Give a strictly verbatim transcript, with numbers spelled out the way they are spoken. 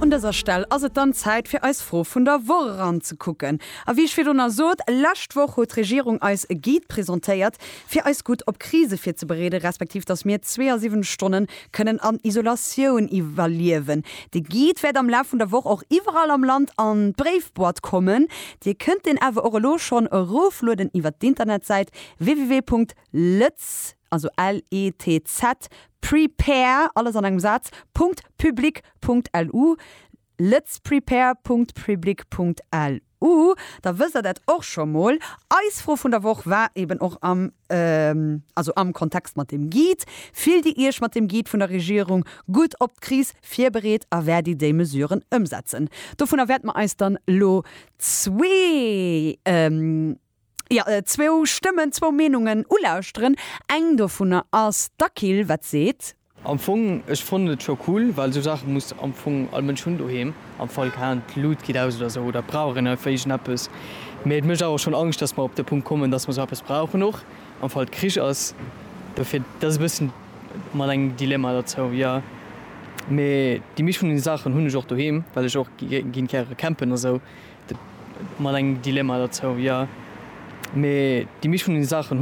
Un dëser Stell ass et dann Zäit fir eis Fro vun der Woch eranzekucken. A wéi ech virdrun sot, lescht Woch huet d'Regierung eis e Guide presentéiert, fir eis gutt op Krise virzebereeden, respektiv dass mir zweeasiwwenzeg Stonne kënnen an Isolatioun iwwerliewen. De Guide wäert am Laf vun der Woch och iwwerall am Land an d'Bréifboîte kommen. Dir kënnt den awer och elo schonn eroflueden iwwer d'Internetsäit www.letz also L E T Z prepare alles an engem Saz .public.lu letzprepare.public.lu da wësst der dat och scho mol. Eis Fro vun der Woch war eben och am ähm, also am Kontext mat dem Guide. Fillt dir iech mat dem Guide vun der Regierung gutt op d'Kris virbereet a wäert dir déi Mesuren ëmsetzen. Dovunner wäerte mer eis dann lo zwee ähm, ja, äh, zwou Stëmmen, zwou Meenungen ulauschteren. Eng dovunner ass d'Akil, wat seet. Am Fong, ech fannen et scho cool, well sou Saache muss am Fong all Mënsch hunn doheem. Am Fall keng Luut geet aus oder sou oder brauchen einfach iergendeppes. Mee et mécht awer schonn Angscht, dass mer op de Punkt kommen, dass mer sou eppes brauchen och. Am Fall Krich ass, dofir dat ass e bëssen mat engem Dilemma dozou, ja. Mee déi meescht vun den Saachen hunn ech och doheem, well ech och ginn gäre campen a sou. Mat engem Dilemma dozou, ja. Mee déi meescht vun den Saachen hunn